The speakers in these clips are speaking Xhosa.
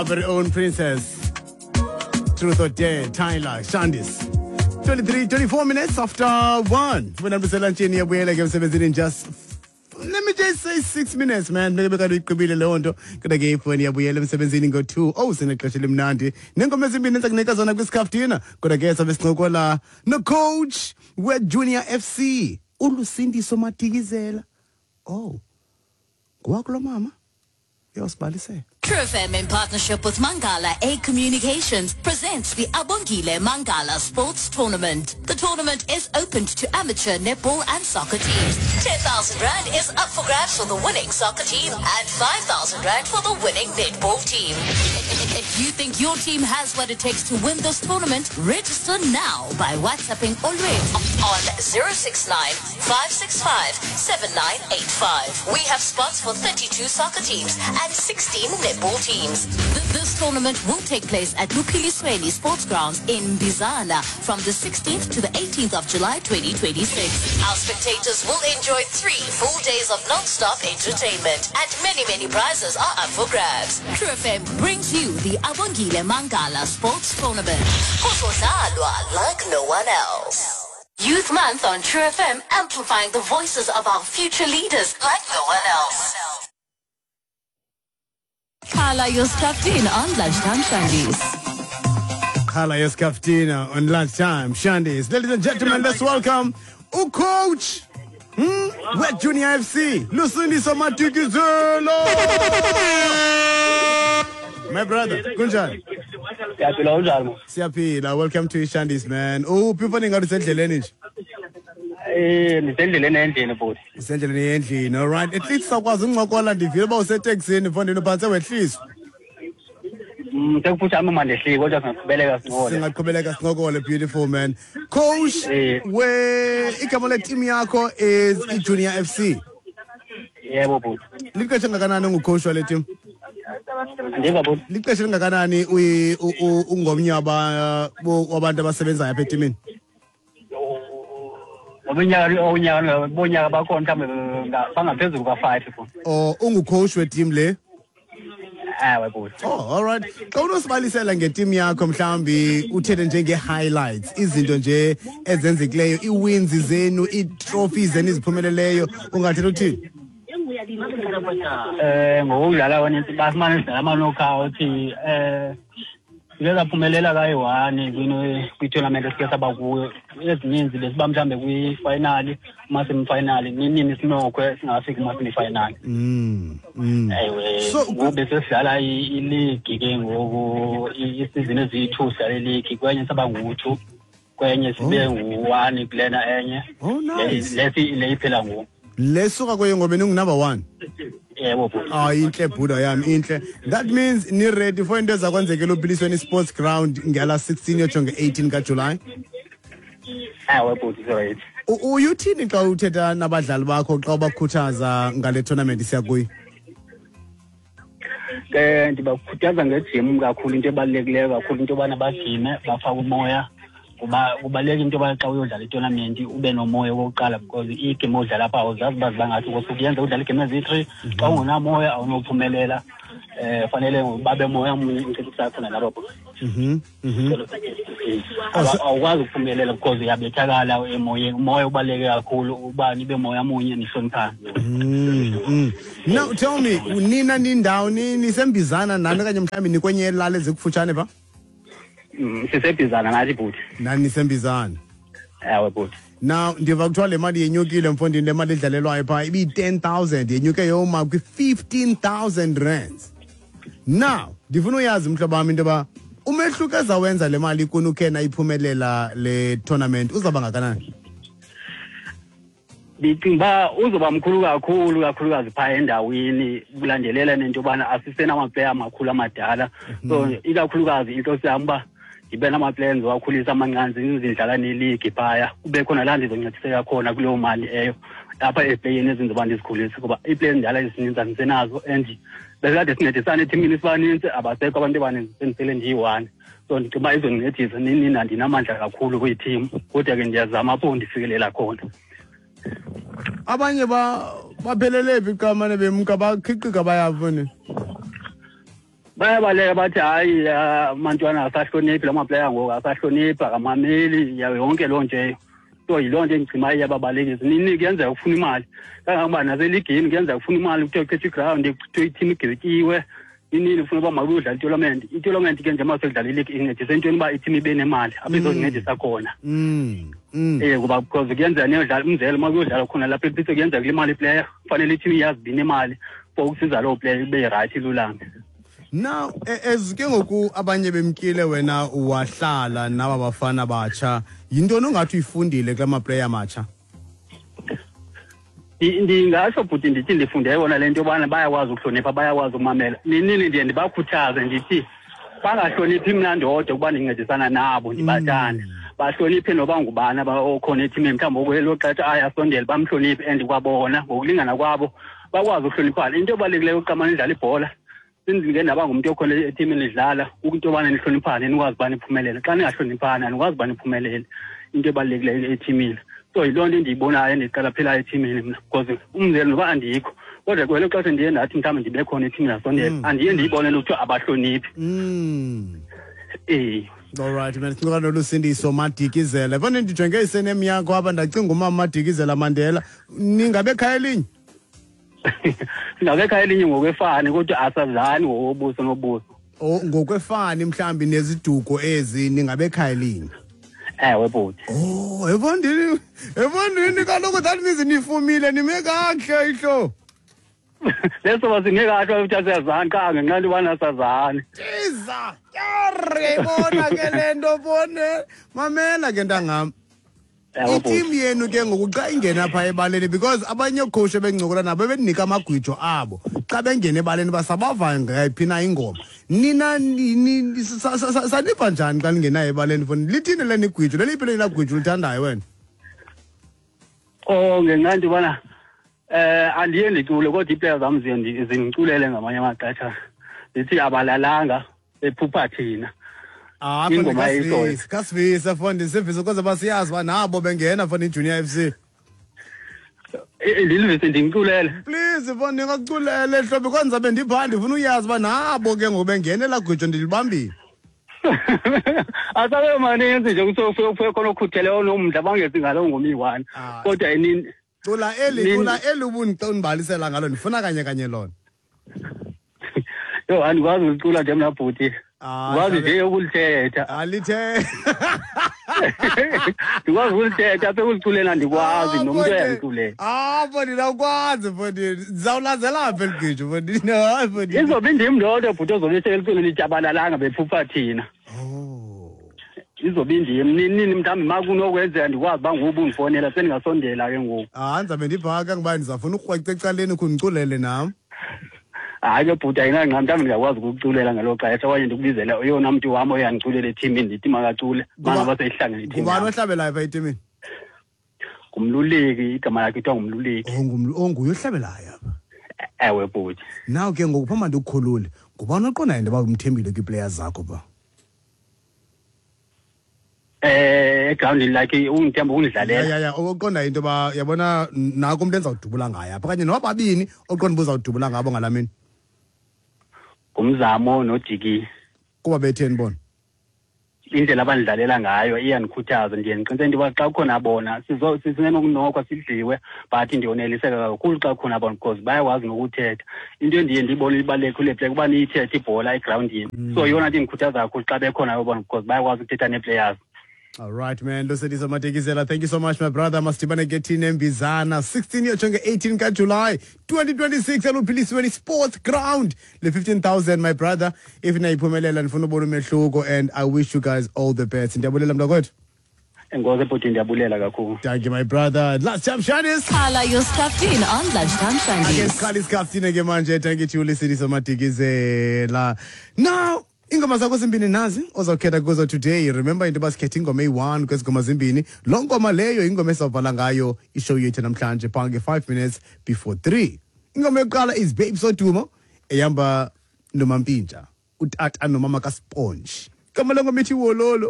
Our very own princess. Truth or Dare, Tyler, Shandis. 23, 24 minutes after 1. Wena mselantshini yabuyela ke emsebenzini in just, let me just say, 6 minutes, man. Beke bekade uyigqibile leyo nto, kodwa ke ifoni yabuyela emsebenzini ngo-2. Oh, sinexesha elimnandi nengoma ezimbini endiza kunika zona kwisikaftina, kodwa ke sabe sincokola nocoach weJunior FC, uLusindiso Madikizela. Oh, ngowakulo mama uyawusibalisela. True FM, in partnership with Mangala A Communications, presents the Abongile Mangala Sports Tournament. The tournament is open to amateur netball and soccer teams. 10,000 Rand is up for grabs for the winning soccer team and 5,000 Rand for the winning netball team. If you think your team has what it takes to win this tournament, register now by WhatsApping Olwethu on 069 565 7985. We have spots for 32 soccer teams and 16 netball teams. This tournament will take place at Luphilisweni Sports Grounds in Bizana from the 16th to the 18th of July 2026. Our spectators will enjoy 3 full days of non-stop entertainment, and many, many prizes are up for grabs. True FM brings you the Abongile Mangala Sports Tournament. Kuzodlalwa like no one else. Youth Month on True FM, amplifying the voices of our future leaders like no one else. Carla Yoskaftin on Lunchtime Shandies. Carla Yoskaftina on Lunchtime Shandies. Ladies and gentlemen, let's welcome ucoach we-Junior FC, Lusindiso Madikizela. My brother, kunjani? Siyaphila, unjani mo? Siyaphila. Welcome to Shandies, man. Uphi, mfana? Ngathi usendleleni nje. Ndisendleleni endlini, bhuti. Usendleleni endlini. All right. At least sakwazi uncokola. Ndivile uba useteksini, mfondini, uphantse wehliswa. Sekufutshane uma ndehlike, kodwa singaqhubeleka sincokole. Singaqhubeleka sincokole. Beautiful, man. Coach, we igama le-team yakho is iJunior FC. Yebo, bhuti. Lixesha engakanani ungucoach wale team? Andiva, bhuti. Lixesha elingakanani ungomnye wabantu abasebenzayo apha etimini? Ngominyaka unyaka bonyaka bakhona mhlawumbe bangaphezulu kwa-5, bhuti. Or ungucoach weteam le? Ewe, bhuti. Oh, all right. Xa unosibalisela ngeteam yakho, mhlawumbi uthethe njenge-highlights, izinto nje ezenzekileyo, ii-wins zenu, ii-trophies zenu iziphumeleleyo, ungathetha uthini? Ngokudlala kwanintsi basimane sidlala ama-knockout. Sike saphumelela kayi-one kwitournament esike saba kuyo. Ezininzi besiba mhlawumbe kwi-final, kuma-semifinal, ninini sinokhwe singafiki kuma-semifinal. Ewe. Ngoku besesidlala iligi ke ngoku, isizini eziyi-2 sidlala iligi. Kwenye saba ngu-2, kwenye sibe ngu-1 kulena enye. Oh, nice. Lesi le iphela ngoku. Lesuka kuyo ngoba ningunumber one. Yebo, bhuti. Ah, intle, bhuda yami, intle. That means ni-ready for into ezakwenzekela uPhilisweni Sports Ground ngala 16 yotsho nge-18 kaJulayi. Ewe, bhuti, right. Uyuthini xa uthetha nabadlali bakho, xa ubakhuthaza ngale tournament siya kuyo? Ke ndibakhuthaza ngejim kakhulu. Into ebalulekileyo kakhulu into yobana bajime, bafake umoya, kuba kubaluleka into yoba xa uyodlala itournament ube nomoya okokuqala, because iigame odlala apha awuzazi uba ziba ngathi kosuke yenza udlala iigame eziyi-three. Xa ungenamoya awunophumelela. Fanele babe moya mnye incedisa khona nabo. Awukwazi ukuphumelela because uyabethakala emoyeni. Umoya ubaluleke kakhulu, uba nibe moya munye, nihloniphane. Now tell me, nina nindawoni? NiseMbizana nani okanye mhlawumbi nikwenye elali ezikufutshane pha? Sisebhizana nathi, bhuti. Nani niseMbizana? Ewe, bhuti. Now ndiva kuthiwa le mali yenyukile, mfondini. Le mali idlalelwayo phaa ibiyi-10,000, yenyuke yoma kwi-15,000 rands. Now ndifuna uyazi, mhlobo wam, into yoba umehluko ezawenza le mali kuni ukhe nayiphumelela le tournament uzawuba ngakanani? Ndicinga uba uzoba mkhulu kakhulu, kakhulukazi phaa endaweni, kulandelela nento yobana asisenamaplayer amakhulu amadala. So ikakhulukazi inhloso yam uba ndibe namaplayer endizowakhulisa amancane, zindlala neligi phaya, kube khona laa ndizoncediseka khona kuleyo mali eyo apha eziplayeni ezinzoba ndizikhulise, kuba iiplayer ezindala ezininzi andisenazo, and besikade sincedisana ethimini sibanintsi, abasekho abantu abaninzi, sendisele ndiyi-one. So ndicinga uba izondincedisa. Nini andinamandla kakhulu kwithimu, kodwa ke ndiyazama apho ndifikelela khona. Abanye ba baphelele phi xa mane bemka, bakhiqika bayaphi, mfondini? Bayabaleka bathi hayi amantwana asahloniphi la maplayer ngoku, asahloniphi, akamameli, yonke loo nto. So yiloo nto endigcima iyababalekisa. Nini kuyenzeka ufuna imali, kangangoba naseligini kuyenzeka ufuna imali, kuthiwe kuchithwe iground, kuthiwe iteam igwetyiwe, inini ufuna uba makuyodlala itournament. Itournament ke njengoba seyidlala ileague incedisa entweni uba iteam ibe nemali apho izozincedisa khona. Kuba because kuyenzeka niyodlala, umzekelo uma kuyodlala khona lapha ePitso kuyenzeka kulimale iplayer, kufanele iteam iyazi uba inemali for ukusiza loo player ibe rayithi ilulame. Now, as ke ngoku abanye bemkile wena wahlala naba bafana batsha, yintoni ongathi uyifundile kula maplayer matsha? Ndingatsho bhuti ndithi ndifunde yona le nto yobana bayakwazi ukuhlonipha, bayakwazi ukumamela. Ninini ndiye ndibakhuthaze ndithi bangahloniphi mna ndodwa ukuba ndincedisana nabo ndibathande. Bahloniphe noba ngubani okhona ethimini, mhlawumbi okwelo xesha ayasondela bamhloniphe, and kwabona ngokulingana kwabo bakwazi ukuhloniphana. Into ebalulekileyo uqamane idlala ibhola, sindike ndaba ngumntu okhona ethimini idlala, into yobana nihloniphane nikwazi uba niphumelele. Xa ningahloniphani anikwazi uba niphumelele. Into ebalulekileyo ethimini. So yiloo nto endiyibonayo endiqalaphelayo ethimini mna, because umzekelo noba andikho, kodwa kwelo xesha ndiye ndathi mhlawumbi ndibe khona ethimini ndasondela, andiye ndiyibone le kuthiwa abahloniphi. All right, man. Sincokola noLusindiso Madikizela. Yabona ndijonge isenem yakho apha ndacinga umama Madikizela Mandela. Ningabe ekhaya elinye? Singabe ekhaya elinye ngokwefani, kodwa asazani ngokobuso nobuso. Oh, ngokwefani mhlambi neziduko ezi ningabe ekhaya elinye. Ewe bhuti. Oh, ebondini kaloku that means nifumile nime kakuhle ihlo. Leso basinge kahle ukuthi asiyazani qha ngenxa yobana asazani. Tiza, yabona ke le nto bone. Mamela ke ntangam. Iteam yenu ke ngoku xa ingena pha ebaleni, because abanye oocoach ebencokola nabo bebenika amagwijo abo. Xa bengena ebaleni basabava ngayiphi na ingoma. Nina saniva njani xa ningenayo ebaleni foni? Lithini leni igwijo? Leliphi leli gwijo ulithandayo wena? Oh, ngenxa nto yobana andiye ndicule kodwa iiplayer zam zindiculele ngamanye amaxesha. Zithi abalalanga bephupha thina. Ingoma eyishoyo. Kasivisa foni, sivisa ukuze basiyazi uba nabo bengena foni iJunior FC. Ndilivise ndimculele. Please foni ndingakuculele hlobo kwanza bendipha ndifuna uyazi uba nabo ke ngoku bengena elaa gwijo ndilibambile. Asabe maninzi nje kuthiwa khona okhutheleyo onomdla bangezi ngaloo ngoma iyi-one. Kodwa inini Cula eli, cula eli ubundibalisela ngalo, ndifuna kanye kanye lona. Yho, andikwazi ukulicula nje mna bhuti. Ndikwazi nje ukulithetha. Alithetha. Ndikwazi ukulithetha, apha ekuliculeni andikwazi, nomntu uyandiculela. Mfondini, ndawukwazi, mfondini. Ndizawulandzela apha eli gwijo, mfondini. Hayi, mfondini. Izobe indim ndodwa, bhuti, ozobe eseluculeni itshabalalanga bephupha thina. Izobe indim. Nini mhlawumbi ma kunokwenzeka ndikwazi uba ngoku undifowunela, sendingasondela ke ngoku. Ndizabe ndibhaka ngoba ndizawufuna ukrweca ecaleni ukhe undiculele nam. Hayi ke bhuti, ayinangxaki, mhlawumbi ndingakwazi ukukuculela ngelo xesha okanye ndikubizele oyona mntu wam oyandiculela ethimini, ndithi makacule, mangaba seyihlangene ithim Ngubani yam. ohlabelayo phaa etimini? Ngumluleki, igama lakhe kuthiwa ngumluleki. Oh, nguye ohlabelayo apha? Ewe bhuti. Now ke ngoku phambi ndikukhulule, ngubani oqondayo into yoba umthembile kwiiplayers zakho phaa? Egrawundini like undithemba ukundidlalela. Ya, ya, ya, oqondayo into yoba yabona nako umntu endizawudubula ngaye apha, okanye noba babini oqonda uba uzawudubula ngabo ngalaa mini. Ngumzamo noJiki. Kuba betheni bona? Indlela abandidlalela ngayo iyandikhuthaza, ndiye ndiqiniseke into yoba xa kukhona bona sisenokunokwa sidliwe, but ndiyoneliseka kakhulu xa kukhona bona because bayakwazi nokuthetha. Into endiye ndiyibone ibalulekile kule play kuba niyithethe ibhola egrawundini. So yeyona nto indikhuthaza kakhulu xa bekhona bona because bayakwazi ukuthetha nee-players. All right, man. Lusindiso Madikizela, thank you so much, my brother. Masidibane ke thina eMbizana. 16 year jonge 18 ka July 2026 eLuphilisweni Sports Ground. Le 15,000, my brother. If niyayiphumelela ndifuna ubona umehluko, and I wish you guys all the best. Ndiyabulela mntakwethu. Enkosi bhuti, ndiyabulela kakhulu. Thank you, my brother. Last time, Shandis. Khala your scaftini on Lunchtime Shandis. Ake sikhale isikhaftini ke manje. Thank you to Lusindiso Madikizela. Now, ingoma zakho zimbini nazi ozawukhetha kuzo today. Remember into yoba sikhethe ingoma eyi-1 kwezi ngoma zimbini. Loo ngoma leyo ingoma esizawubhala ngayo ishow yethu namhlanje phaa nge-5 minutes before 3. Ingoma yokuqala is Babe Sodumo ehamba noMampintsha, utata nomama kaSponge. Igama lengoma ithi Wololo.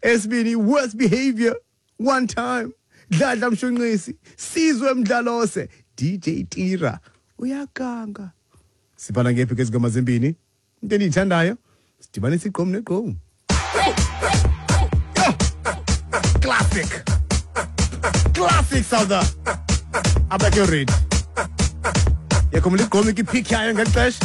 Esibini, Worst Behavior, One Time, Dladla Mshunqisi, Sizwe Mdlalose, DJ Tira, uyaganga. Sibhala ngephi kwezi ngoma zimbini? Into endiyithandayo, sidibanisa igqom negqom. Classic. Classic South. Abekho ready. Yakhumbula igqom ikiphik yayo ngeli xesha.